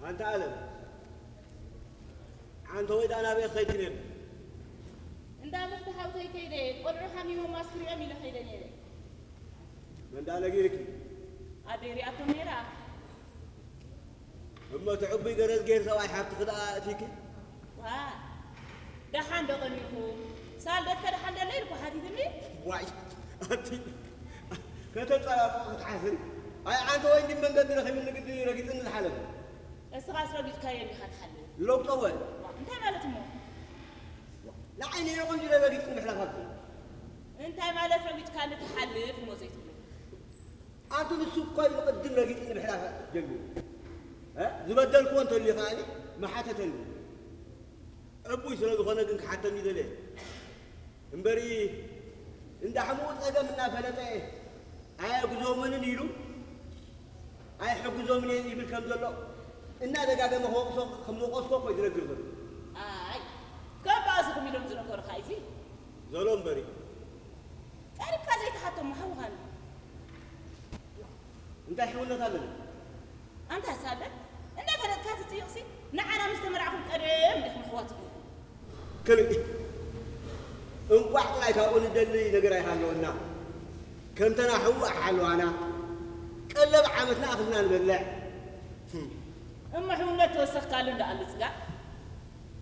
ኣንታ ኣለም፣ ዓንተ ወይ ደኣ ናበይ ክኸይድ ክነብ? እንዳ ምኽቲ ሓውተይ ከይደ፣ ቆልዑ ሓሚሞም ኣስክሪኦም ኢለ ከይደ ነይረ። መን ደኣ ነጊርኪ? ኣደይ ሪኣቶም ነይራ። እሞ እቲ ዕቡይ ገረዝ ገይር ሰብኣይ ሓፍትኺ ደኣ እቲኪ? ዋ፣ ደሓን ዶ ቀኒኹ? ሳልደትከ ደሓን ደለ ኢልኩ ሓቲትኒ። ዋይ፣ ኣቲ ከተጸባብቑ ክትሓስሪ። ኣይ ዓንተ ወይ እንዲ መንገዲ ረኺቡ ንግዲ ረጊጽኒ ዝሓለፈ። እስኻስ ረጊጽካዮ እንዲኻ ትሓልፍ። ለውጦ ወ ዋ፣ እንታይ ማለት እሞ? ንዓይ ነይረ ቆንጆ ረጊጽኒ ምሕላፍ ኣብቲ። እንታይ ማለት ረጊጽካኒ ትሓልፍ እሞ ዘይትብሎ? ኣንቱ ንሱ እኮ እዩ ቅድም ረጊጽኒ ምሕላፍ ጀሚሩ። እ? ዝበደልክዎ እንተልዩ ከኣኒ መሓተተኒ። ዕቡይ ስለ ዝኾነ ግን ክሓተኒ ደለየ። እምበሪ እንዳ ሕሙኡ ጸገም እናፈለጠ ኣየግዞምንን ኢሉ ኣይሕግዞምን እየ ይብል ከም ዘሎ እናደጋገመ ክወቕሶ ከም ዝወቐስኮ እኮ እዩ ዝነግር ዘሎ። ኣይ፣ ከም ባእስኹም ኢሎም ዝነገሩኻ እዚ ዘሎ እምበሪ ቀሪብካ ዘይትሓቶም ምሓውኻን እንታይ ሕውነት ኣለና? ኣንታ ሳለ እንዳፈለጥካ ትጽይቕሲ ንዓና ምስ ተመርዓኹም ቀደም ዲኹም ኣሕዋት ትኾኑ። ክልእ እንቋዕ ጥራይ ካብኡ ንደሊ ነገር ኣይሃለወና። ከምተና ሕዋ ሓለዋና ቀለብ ዓመትና ኣኽልና ንበልዕ። እሞ ሕውነት ተወሰኽካሉ እንዳኣሉ ጽጋ